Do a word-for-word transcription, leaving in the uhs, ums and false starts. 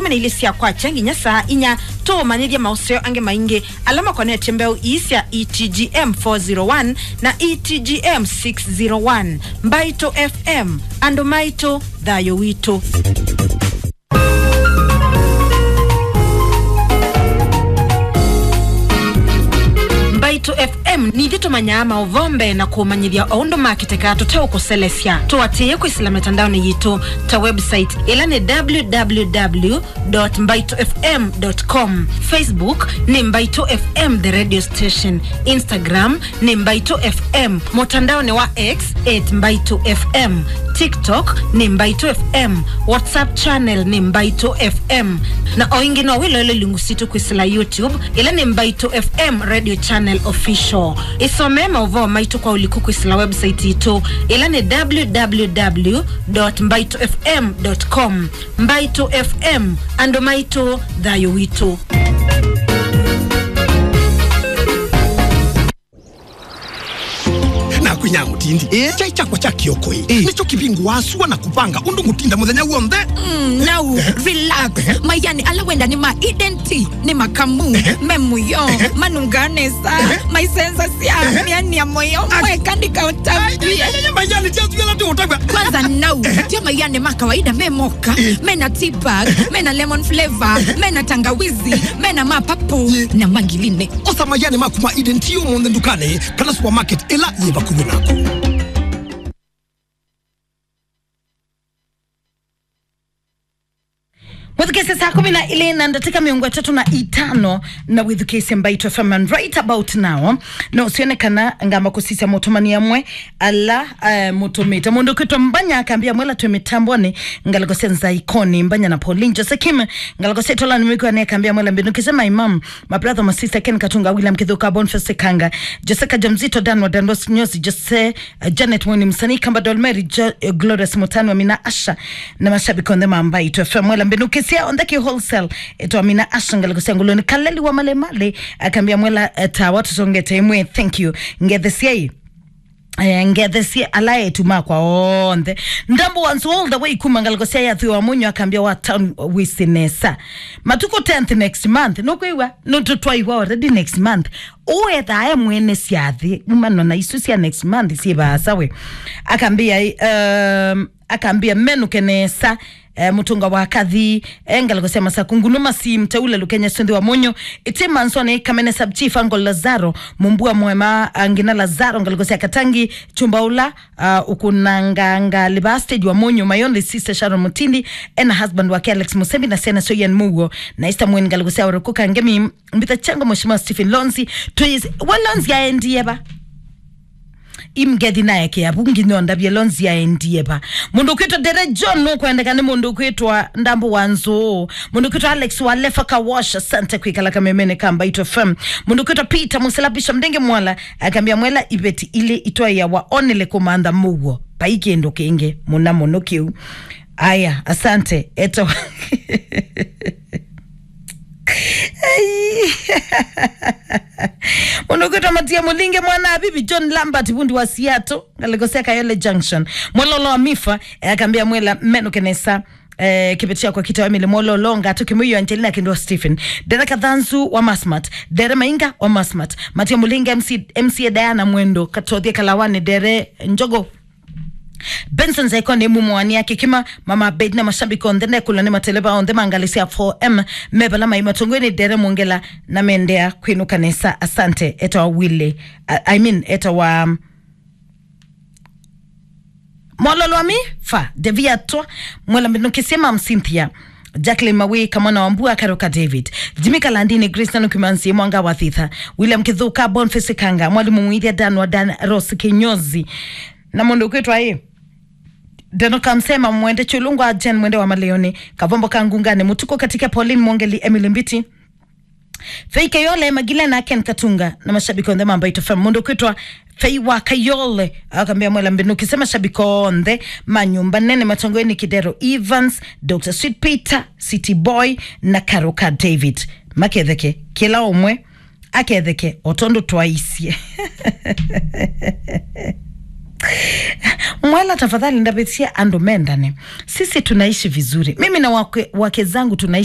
na ilĩ sya kwakya nginya saa inya, tũũmanyĩthye maũseo angĩ maingĩ ala makonetye mbeũ ii sya E T G M four zero one na E T G M six zero one. Mbaitũ F M, andũ maitũ, thayũ witũ. Mbaitũ F M nithyĩ tũmanyaa maũvoo mbee na kũũmanyĩthya o ũndũ makĩtekaa tũteũkũselesya. Tũatĩĩe kwĩsĩla mĩtandaonĩ yitũ ta website, ĩla nĩ www dot mbaitũ F M dot com. Facebook nĩ Mbaitũ F M The Radio Station. Instagram nĩ Mbaitũ F M. Mũtandaonĩ wa X at Mbaitũ F M. TikTok nĩ Mbaitũ F M. WhatsApp channel nĩ Mbaitũ F M. Na o ĩngĩ no wĩloele ilungu sitũ kwĩsĩla YouTube, ĩla nĩ Mbaitũ F M Radio Channel Official. Ĩsomee maũvoo maitũ kwa ũliku kwĩsĩla website itũ, ĩla nĩ www dot mbaitũ F M dot com. Mbaitũ F M, andũ maitũ, thayũ witũ. Naku nya mũtindi. Ĩ? Kyai kyakwa kya kĩoko ĩ. Ĩ. Nĩkyo kĩvingũaa sua na kũvanga ũndũ ngũtinda mũthenya w'onthe. Mm, now, relax. Mayani ala wenda nĩ ma Eden Tea, nĩ makamu, me mũyo, manungaa nesa, maisenzasya, mĩani ya mũyo, mweka ndikaũtavye. Mayani tya tuela tũũtavya. Kwanza now, tyo mayani ma kawaida me moka, mena tea bag, mena lemon flavor, mena tangawizi, mena ma purple, na mangiline. Osa mayani maku ma Eden Tea ũmũnthĩ ndukanĩ kana supermarket ĩla yĩ vakuvĩ naku. Mwĩthukĩĩsye saa kũmi na ilĩ na ndatĩka mĩongo ĩtatũ na itano, na wĩthukĩĩsye Mbaitũ F M. And right about now, no sione kana ngamba kũsisya mũtũmani amwe ala, eh, mũtũmĩte. Mũndũ ũkwĩtwa Mbanya akambĩa mwela twĩ mĩtambonĩ, ngalĩko sya Nzaikoni, Mbanya na Pauline Jose Kim, ngalĩko sya Itolani Mĩkwani akambĩa mwela mbĩndũkĩsye my mom, my brother, my sister, Ken Katunga, William Kithuka, Boniface Kanga, Jose Kajamzito, Dan wa Dandos Nyosi, Jose, eh, Janet Mweni, Msanii Kamba Dolmeri, Jo-, eh, Glorious Mutani wa Mina Asha, na mashabiki onthe ma Mbaitũ F M. Mwela mbĩndũkĩsye onthe kĩ wholesale, etwa Mina Asha, ngalĩko sya Nguluni, Kaleli wa Malemale, akambĩa mwela, eh, tawa tũsongete ĩmwe, thank you. Ngethesyai. Eh, ngethesie ala etu makwa onthe. Ndambo ones all the way kuma ngalĩko sya Yathi wa Mũnyũ akambĩa wa town wĩsĩ nesa. Matukũ tenth next month. Nũkwĩw'a? Nũtũtwaiwa already next month. Ũethaa e mwene syathi. Umano na isu sya next month syĩ vaasa we. Akambĩa, um, akambĩa menũke nesa. Eh, Mũtũnga wa Kathi, eh, ngalĩko sya Masaku, Ngunu Masi, Mteule Lukenya, Sũnthi wa Mũnyũ, Ĩtĩ Mansoni, Kamene Sub Chief, Uncle Lazaro, Mumbua Mwema, ah, Ngina Lazaro, ngalĩko sya Katangi, Chumba Ũla, ah, Ũkũnanganga Liva Stage wa Mũnyũ, my only sister Sharon Mutindi, ena husband wake Alex Musembi, na syana syo Ian Mugo, na Esther Mwini, ngalĩko sya Oroko Kangemi, Mbitha Chengo, Mheshimiwa Stephen Lonzi, twĩsĩ, we Lonzi aendie va? Imgethi naekea vu nginya ondavye Lonzi aendie va. Mũndũ ũkwĩtwa Dere John nũkwendeka nĩ mũndũ ũkwĩtwa Ndambo wa Nzũũ. Mũndũ ũkwĩtwa Alex wa Lefa Kawash, asante kwĩkala kamemene ka Mbaitũ F M. Mũndũ ũkwĩtwa Peter Mũsila Bishop Ndenge Mwala, akambĩa mwela iveti ilĩ itwaĩa wa onele kũmantha mũuo. Vai kĩndũ kĩngĩ mũna mũno kĩu. Aya, asante. Eto. Ai. Mũndũ ũkwĩtwa Matia Mũlinge, mwana Abibi, John Lambert, vundi wa Seattle, ngalĩko sya Kayole Junction. Mwelolo wa Mifa, eh, akambĩa mwela menũke nesa, eh, kĩveti kyakwa kĩtawa Emily Mwololo, Ngatũ Kĩmũio, Angelina Kindwa, Stephen. Dere Kathanzu wa Masmat, Dere Mainga wa Masmat. Matia Mũlinge, M C, M C A Diana Mwendo, Katothie Kalawani, Dere Njogo. Benson Zaikoni, Mumu wa Nia Kikima, Mama Bed na mashabiki onthe, nekulwa nĩ mateleva onthe ma ngalĩ sya four M, me vala mai matongoi nĩ Dere Mwongela na mendea kwĩnũka nesa. Asante, etawa Willy, I, I mean, etawa Mwololo wa Mifa, Deviatwa, Mwela Mbinukisye, Mam Cynthia, Jacqueline Mawika, mwana wa Mbua, Karoka David, Jimmy Kalandini, Grace Nanukimansi, Mwanga wa Thitha, William Kithuka, Boniface Kanga, Mwalimu Mwithia, Dan wa Dan, Rose Kinyozi, na mũndũ ũkwĩtwa ĩ, Deno Kamsema, Mwende Chulungwa, Jen Mwende wa Maleoni, Kavombo ka Ngungani, Mũtuko Katike, Pauline Mwongeli, Emily Mbiti, Fei Kayole, Magilena, Ken Katunga, na mashabiki onthe ma Mbaitũ F M. Mũndũ ũkwĩtwa Fei wa Kayole, akambĩa Mwela Mbinukisye, mashabiki onthe ma nyũmba nene matongoi nĩ Kidero Evans, Doctor Sweet Peter, City Boy, na Karoka David. Maketheke, kĩla ũmwe aketheke o tondũ twaisye. Mwela, tafadhali ndavĩsya andũ mendane. Sisi tunaishi vizuri. Mimi na wake, wake zangu tunaishi